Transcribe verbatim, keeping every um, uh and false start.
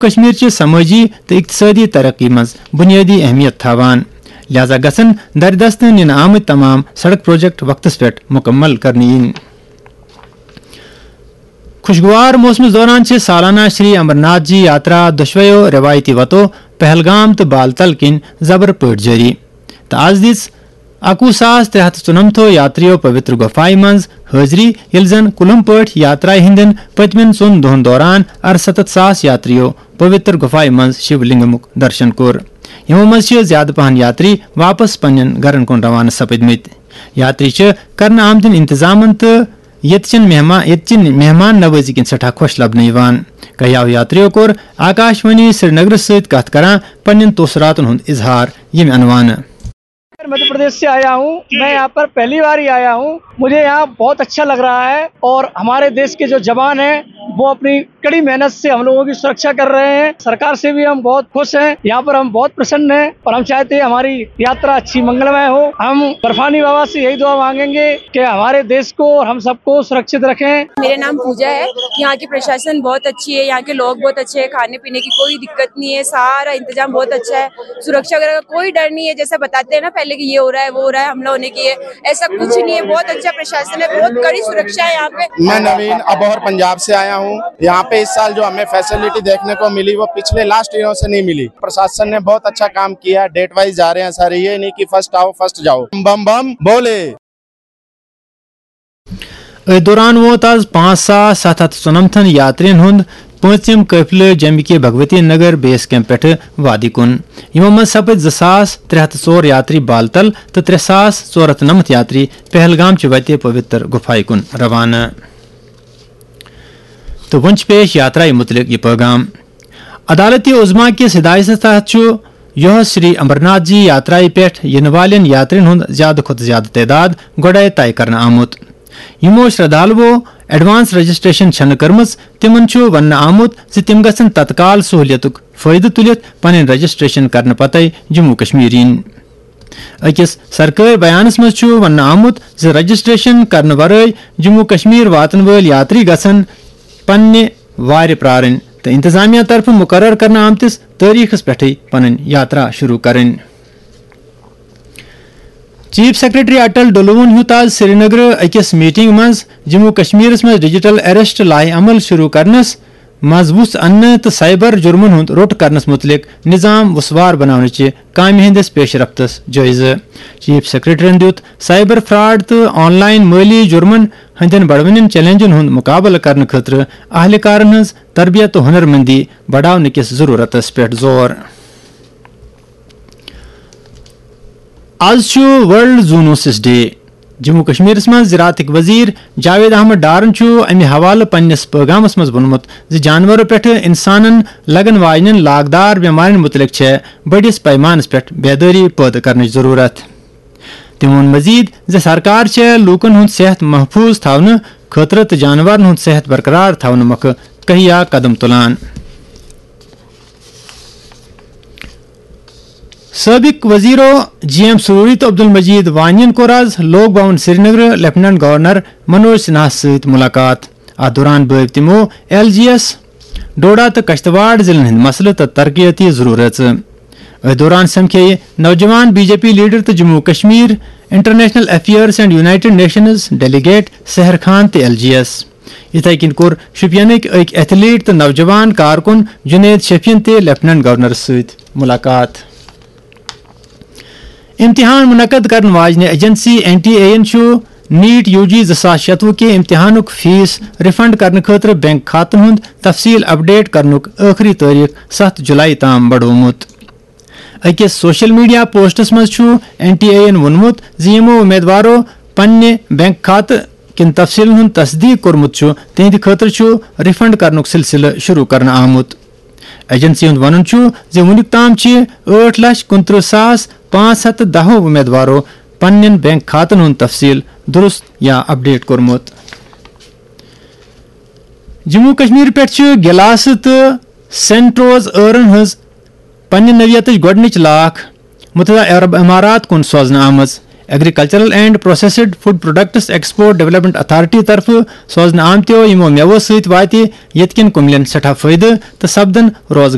کشمیر چہِ سمٲجی تہٕ اقتصٲدی ترقی منٛز بُنیٲدی اہمیت تھاوان، لہذا گژھن دردستہٕ نِنہٕ آمٕتۍ تمام سڑک پروجیکٹ وقتس پٮ۪ٹھ مکمل کرنہٕ یِنۍ۔ خوشگوار موسمس دوران چھِ سالانہ شری امرناتھ جی یاترا دۄشویو روایتی وتو پہلگام تہٕ بالتل کِنۍ زبر پٲٹھۍ جٲری، تہٕ از دِژ اَکوُہ ساس ترٛےٚ ہَتھ تہٕ ژُنَمتھو یاتریو پویتر گۄپھایہِ منٛز حٲضری، ییٚلہِ زن کُلم پٲٹھۍ یاترایہِ ہٕنٛدٮ۪ن پٔتمٮ۪ن ژۄن دۄہن دوران اَرسَتَتھ ساس یاتریو پویتر گۄپھایہِ منٛز شیو لنگمُک درشن کوٚر۔ یِمو منٛز چھِ زیادٕ پہن یاتری واپس پننٮ۪ن گرن کُن روانہٕ سپدمٕتۍ۔ یاتری چھِ کرنہٕ آمتٮ۪ن انتظامن تہٕ ییٚتہِ چٮ۪ن مہمان، ییٚتہِ چہِ مہمان نوٲزی کِنۍ سٮ۪ٹھاہ خۄش لبنہٕ یِوان۔ کیاہو یاتریو کوٚر آکاشوانی سرینگرس سۭتۍ کتھ کران پننٮ۪ن تٲثراتن ہُنٛد اظہار ییٚمہِ عنوانہٕ۔ मैं मध्य प्रदेश से आया हूँ। मैं यहाँ पर पहली बार ही आया हूँ। मुझे यहाँ बहुत अच्छा लग रहा है और हमारे देश के जो जवान हैं, वो अपनी कड़ी मेहनत से हम लोगों की सुरक्षा कर रहे हैं। सरकार से भी हम बहुत खुश हैं। यहाँ पर हम बहुत प्रसन्न हैं और हम चाहते हैं हमारी यात्रा अच्छी मंगलमय हो। हम बर्फानी बाबा से यही दुआ मांगेंगे कि हमारे देश को और हम सबको सुरक्षित रखें। मेरा नाम पूजा है। यहाँ की प्रशासन बहुत अच्छी है, यहाँ के लोग बहुत अच्छे हैं, खाने पीने की कोई दिक्कत नहीं है, सारा इंतजाम बहुत अच्छा है, सुरक्षा वगैरह का कोई डर नहीं है। जैसा बताते हैं ना पहले कि ये हो रहा है, वो हो रहा है, हमला होने की है, ऐसा कुछ नहीं है। बहुत अच्छा प्रशासन है, बहुत कड़ी सुरक्षा है यहाँ पे। मैं नवीन अबोहर पंजाब से आया हूँ। यहाँ पे इस साल जो हमें फैसिलिटी देखने को मिली, वो पिछले लास्ट ईयरों से नहीं मिली। प्रशासन ने बहुत अच्छा काम किया। डेट वाइज जा रहे हैं सारे, ये नहीं कि फर्स्ट आओ फर्स्ट जाओ। बम बम बोले। أتھۍ دوران ووت از پانٛژھ ساس ستھ ہتھ ژُنمتھن یاترین ہُنٛد پٲنٛژِم قٲفلہٕ جمہِ کہِ بھگوتی نگر بیس کیمپ پٮ۪ٹھٕ وادی کُن۔ یِمو منٛز سپٕدۍ زٕ ساس ترٛےٚ ہتھ تہٕ ژور یاتری بالتل تہٕ ترٛےٚ ساس ژور ہتھ نَمَتھ یاتری پہلگام چہِ وتہِ پویتر گُفایہِ کُن روانہٕ۔ تہٕ وۄنۍ چھِ پیش یاترایہِ مُتعلق یہِ پٲغام۔ عدالتِ عظمیٰ کِس ہدایتس تحت چھُ یۄہس شری امرناتھ جی یاترایہِ پٮ۪ٹھ یِنہٕ والٮ۪ن یاترین ہُنٛد زیادٕ کھۄتہٕ زیادٕ تعداد گۄڈَے طے کرنہٕ آمُت۔ یِمو شردھالوو ایڈوانس رجسٹریشن چھنہٕ کٔرمٕژ، تِمن چھُ وننہٕ آمُت زِ تِم گژھن تتکال سہولیتُک فٲیدٕ تُلِتھ پنٕنۍ رجسٹریشن کرنہٕ پتَے جموں کشمیر یِنۍ۔ أکِس سرکٲرۍ بیانَس منٛز چھُ وننہٕ آمُت زِ رجسٹریشن کرنہٕ ورٲے جموں کشمیر واتن وٲلۍ یاتری گژھن پننہِ وارِ پرارٕنۍ تہٕ انتظامیہ طرفہٕ مقرر کرنہٕ آمتِس تٲریخس پٮ۪ٹھٕے پنٕنۍ یاترا شروع کرٕنۍ۔ چیف سیکرٹری اٹل ڈلوون ہیوٚت آز سرینگرٕ أکِس میٹنگ منٛز جموں کشمیرس منٛز ڈیجیٹل اریسٹ لایحہ عمل شروع کرنس منٛز وُژھ اننہٕ تہٕ سائبر جرمن ہُنٛد روٚٹ کرنس مُتعلق نظام وُسوار بناونٕچہِ کامہِ ہٕنٛدِس پیش رفتس جٲیزٕ۔ چیف سیکرٹریَن دِیُت سائبر فراڈ تہٕ آن لائن مٲلی جرمن ہٕنٛدٮ۪ن بڑوٕنٮ۪ن چیلنجن ہُنٛد مقابلہٕ کرنہٕ خٲطرٕ اہلکارن ہٕنٛز تربیت تہٕ ہنرمندی بڑاونہٕ کِس ضرورتس پٮ۪ٹھ زور۔ از چھُ ورلڈ زونوسس ڈے۔ جموں کشمیرس منٛز زراعتٕکۍ وزیر جاوید احمد ڈارن چھُ امہِ حوالہٕ پننِس پٲغامس منٛز ووٚنمُت زِ جانورو پٮ۪ٹھٕ انسانن لگن واجنٮ۪ن لاگدار بٮ۪مارٮ۪ن مُتعلق چھےٚ بٔڑِس پیمانس پٮ۪ٹھ بیدٲری پٲدٕ کرنٕچ ضروٗرت۔ تٔمۍ ووٚن مزید زِ سرکار چھےٚ لوٗکن ہُنٛد صحت محفوٗظ تھاونہٕ خٲطرٕ تہٕ جانورن ہُنٛد صحت برقرار تھاونہٕ مۄکھٕ کہیا قدم تُلان۔ سٲبِق وزیرو جی ایم سروری تہٕ عبدالمجید وانین کوٚر آز لوک بھون سرینگرٕ لیفٹیننٹ گورنر منوج سنہاہس سۭتۍ مُلاقات۔ اتھ دوران بٲوۍ تِمو ایل جی ایس، ڈوڈا تہٕ کشتواڑ ضلعن ہٕنٛدۍ مسلہٕ تہٕ ترقیٲتی ضروٗرژٕ۔ أتھۍ دوران سمکھیٚیہِ نوجوان بی جے پی لیڈر تہٕ Jammu Kashmir international affairs and United Nations delegate Sahar Khan تہٕ ایل جی ایس۔ یِتھے کٔنۍ کوٚر شوپینٕکۍ أکۍ ایتھلیٹ تہٕ نوجوان کارکُن جنید شفیعن تہِ لیفٹیننٹ گورنرس سۭتۍ مُلاقات۔ امتحان منعقد کرن واجنہِ ایجنسی این ٹی اے یَن چھُ نیٹ یو جی زٕ ساس شیٚتوُہ کہِ امتحانُک فیس ریفنڈ کرنہٕ خٲطرٕ بینک کھاتن ہُنٛد تفصیل اپڈیٹ کرنُک ٲخری تٲریخ ستھ جولائی تام بڑومُت۔ أکِس سوشل میڈیا پوسٹس منٛز چھُ این ٹی اے یَن ووٚنمُت زِ یِمو امیدوارو پننہِ بینک کھاتہٕ کٮ۪ن تفصیلن ہُنٛد تصدیق کوٚرمُت چھُ، تِہنٛدِ خٲطرٕ چھُ ریفنڈ کرنُک سلسلہٕ شروع کرنہٕ آمُت۔ ایجنسی ہُنٛد وَنُن چھُ زِ وُنیُک تام چھِ ٲٹھ لچھ کُنترٕہ ساس پانٛژھ ہتھ تہٕ دَہو امیدوارو پننٮ۪ن بینک کھاتن ہُنٛد تفصیل درست یا اپڈیٹ کوٚرمُت۔ جموں کشمیر پٮ۪ٹھ چھِ گلاسہٕ تہٕ سینٹروز ٲرن ہٕنٛز پننہِ نوعیتٕچ گۄڈٕنِچ لاکھ متحدہ عرب امارات کُن سوزنہٕ آمٕژ۔ Agricultural and processed food products export development authority طرفہٕ سوزنہٕ آمتیو یِمو میوو سۭتۍ واتہِ ییٚتہِ کٮ۪ن کُملٮ۪ن سٮ۪ٹھاہ فٲیدٕ تہٕ سپدن روزگار۔